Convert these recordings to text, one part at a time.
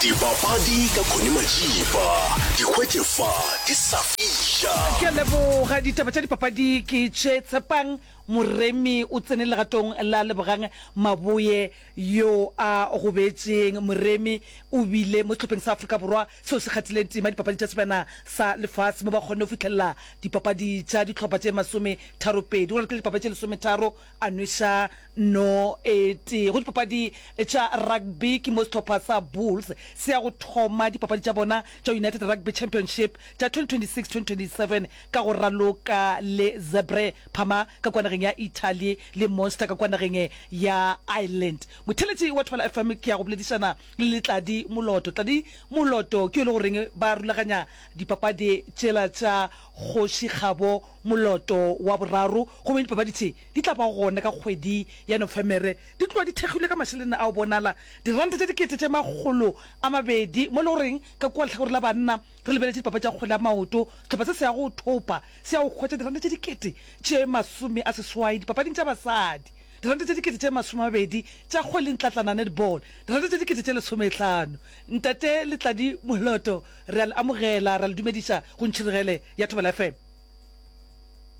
Dipapadi ka Connie Majiba, di hwetše fa di sa fiša. Ke a leboga. Ditaba tša dipapadi ke tše. Tshepang Moremi o tsene legatong la Lebogang Maboe yo a gobetšeng. Moremi o bile mo sehlopheng sa Afrika Borwa seo se kgathileng tema dipapading tša Sebjana sa Lefase mo ba kgonne go fihlelela dipapadi tša dihlopha tše masometharopedi. Go ralokile dipapadi tše lesometharo a nweša no e tee. Go dipapadi tša rugby ke mo sehlopha sa Bulls se ya go thoma dipapadi tša bona tša United Rugby Championship tša 2026-2027 ka go raloka le Zebre Parma ka kua nageng ya Italy le Munster ka kua nageng ya Ireland. Motheeletši wa Thobela FM ke ya go boledišana le le Tladi Moloto. Tladi Moloto ke yo e le goreng ba rulaganya dipapadi tšela tša Kgoši Kgabo Moloto wa boraro gomme dipapadi tše di tla ba gona ka kgwedi ya Nofemere. Di tloga di thekgilwe ka mašeleng a go bonala diranta tše 200,000 mo e le goreng ka kua lehlakore la banna re lebeletše dipapadi tša kgwele ya maoto, sehlopha se se ya go thopa se ya go hwetša diranta tše 80,000 dipapading tša basadi, diranta tše 20,000 tša kgwele ntlatlana, netball, diranta tše 15,000. Ntate Letladi Moloto, re a le amogela, ra le dumediša go Ntšhirigele ya Thobela FM.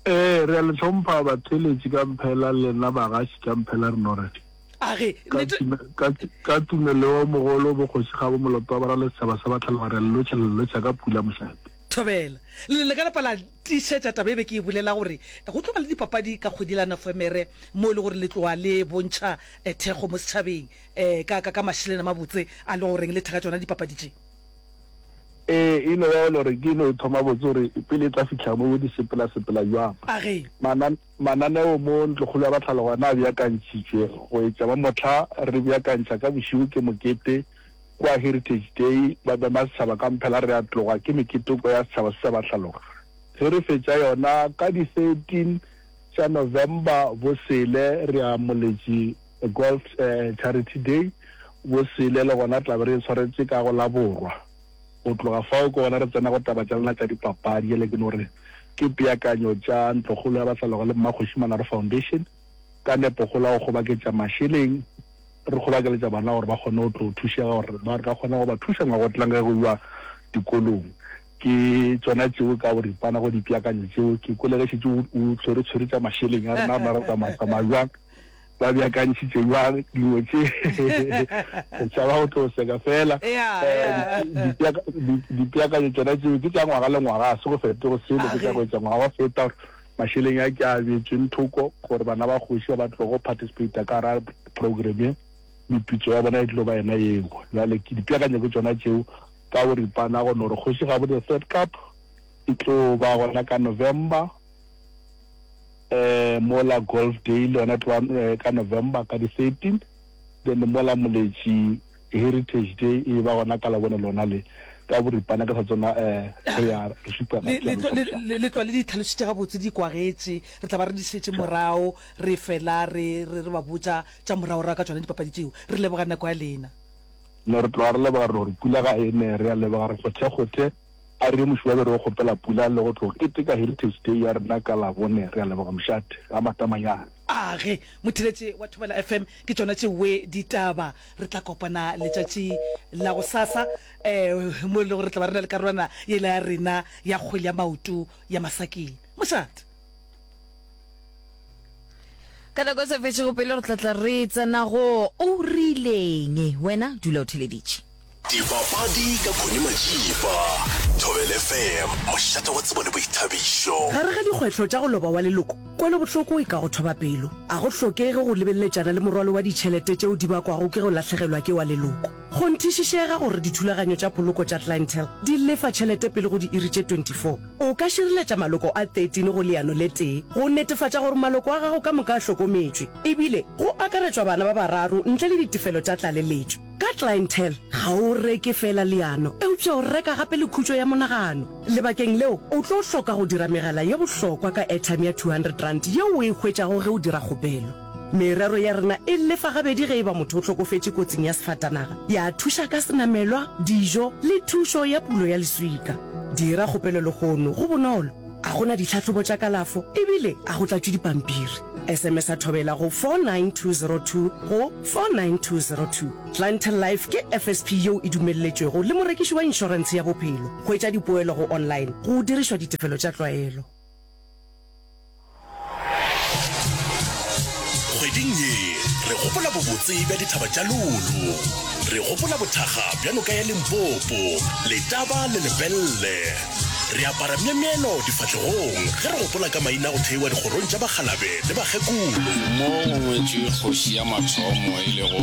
Ee, re a le hlompha batheeletši ka mphela, lena bagaši ka mphela re no re. A re, Ka Nnete. tume, ka, ka tumelo yo mogolo bokgoši Kgabo Moloto wa Boralo setšhaba sa Batlhaloga re a le lotšha, le le lotšha ka pula mošate. Thobela. Le le ka napa la tiišetša taba e be ke e bolela gore go tlo ba le dipapadi ka kgwedi la Nofemere mo e le gore le tloga le bontšha thekgo mo setšhabeng ka, ka, ka mašeleng a mabotse a le goreng le thekga tšona dipapadi tše. Ee, e no ba e le gore ke no e thoma botse gore pele e tla fihla mo di sepela-sepela bjang. A re. Manan, mananeo mo Ntlokgolo ya Batlhaloga a beakantšhitšwe go etša ba mohla re beakantšha ka bošego ke mokete kua Heritage Day, ba mema setšhaba ka mphela re a tloga ke meketeko ya setšhaba se sa Batlhaloga. Ge re fetša yona ka di 13 tša November bosele re ya Moletši Golf Charity Day bosele le gona tla be re e swaretše ka go la Borwa. Go tloga fao ke gona re tsena go taba tša lena tša dipapadi. Bjale ke no re ke peakanyo tša Ntlokgolo ya Bahlaloga le Mmakgoši Manaro Foundation ka nepokgolo ya go kgobaketša mašeleng re kgobakeletša bana gore ba kgone go tlo thušega gore ba re ka kgona go ba thuša ngwaga o tlang ge go iwa dikolong. Ke tšona tšeo ka boripana go dipeakanyo tšeo. Ke kwele ge šetše o tshwere tshwere tša mašeleng a rena, rena re tsamaya tsamaya bjang. Ba beakantšhitše bjang dingwe tše? Re tšhaba go tlo seka fela. Dipeakanyo tšona tšeo ke tša ngwaga le ngwaga, ga se go fetoge selo, ke tša go etša ngwaga wa feta gore mašeleng a ke a beetšweng thoko gore bana ba kgoši ba ba tlogo participate ka gara program ye, meputso ya bona e tlo ba yona yeo. Bjale ke dipeakanyo ke tšona tšeo ka boripana go no re Kgoši Gabo the Third Cup e tlo ba gona ka November. eh mola golf day le yona tloa eh, ka November ka di 13 then mola Moletši Heritage Day e ba gona ka labone lona le ka boripana ke sa tsona eh re ya re šupa Le, le, le, le, le tloa le di tlhalositše gabotse di kwagetše re tla ba re di šetše morago re fela re, re, re ba botša tša moragorago ka tšona dipapadi tšeo re leboga nako ya lena No re tloga re leboga re gore pula ga e ne re a leboga re kgothe kgothe A re moši wa be re o kgopela pula le go tlo keteka Heritage Day ya rena ka Labone. Re a leboga mošate. Ga Matamanyane. A ge, motheletše wa Thobela FM, ke tšona tšeoe ditaba. Re tla kopana letšatši la gosasa um mo e lego re tla ba re na le karolwana yela ya rena ya kgwele ya maoto ya masakeng. Mošate. Ka nako e sa fetšego pelo re tla tla re tsena go O Rileng. Wena dula o theleditše. Dipapadi ka Connie Majiba, Thobela FM, mošate wa tsebo le boithabišo. Gare ga dikgwetlho tša go loba wa leloko, kwelobohloko e ka go thoba pelo. A go hlokege go lebeleletšana le morwalo wa ditšhelete tšeo di bakwago ke go lahlegelwa ke wa leloko. Kgonthišišega gore dithulaganyo tša poloko tša Clientele di lefa tšhelete pele go diiri tše 24. O ka šireletša maloko a 13 go leano le tee go netefatša gore maloko a gago ka moka a hlokometšwe, ebile go akaretšwa bana ba bararo ntle le ditefelo tša tlaleletšo. Ka Clientele, ga o reke feela leano, eupša o reka gape le khutšo ya monagano. Lebakeng leo, o tlo hloka go dira megala ye bohlokwa ka airtime ya R200 yeo o e hwetšago ge o dira kgopelo. Merero ya rena e lefa gabedi ge e ba motho o hlokofetše kotsing ya sefatanaga, ya thuša ka senamelwa, dijo le thušo ya pulo ya leswika. Dira kgopelo lehono, go bonolo, ga go na ditlhahlobo tša kalafo e bile ga go tlatšwe dipampiri. SMS-a Thobela go 49202 go 49202. Clientele Life ke FSP yeo e dumelletšwego le morekiši wa inšorentshe ya bophelo. Hwetša dipoelo go online go dirišwa ditefelo tša tlwaelo. Kgweding ye re gopola bobotse bja dithaba tša Lulu. Re gopola bothakga bja noka ya Limpopo, Letaba le Lepelle. Re apara myemyelo difahlegong ge re gopola ka maina a go theiwa dikgorong tša bakgalabe le bakgekolo. Mo go ngwetšwe kgoši ya mathomo e lego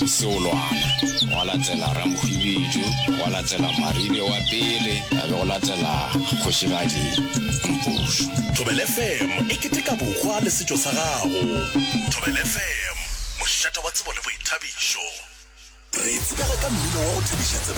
Seolwana, gwa latela Ramohwibidu, gwa latela Maribe wa pele, ya be go latela Kgošigadi Mpušo. Thobela FM e keteka bohwa le setšo sa gago. Thobela FM, mošate wa tsebo le boithabišo. Re tsebega ka mmino wa go thabiša tsebe.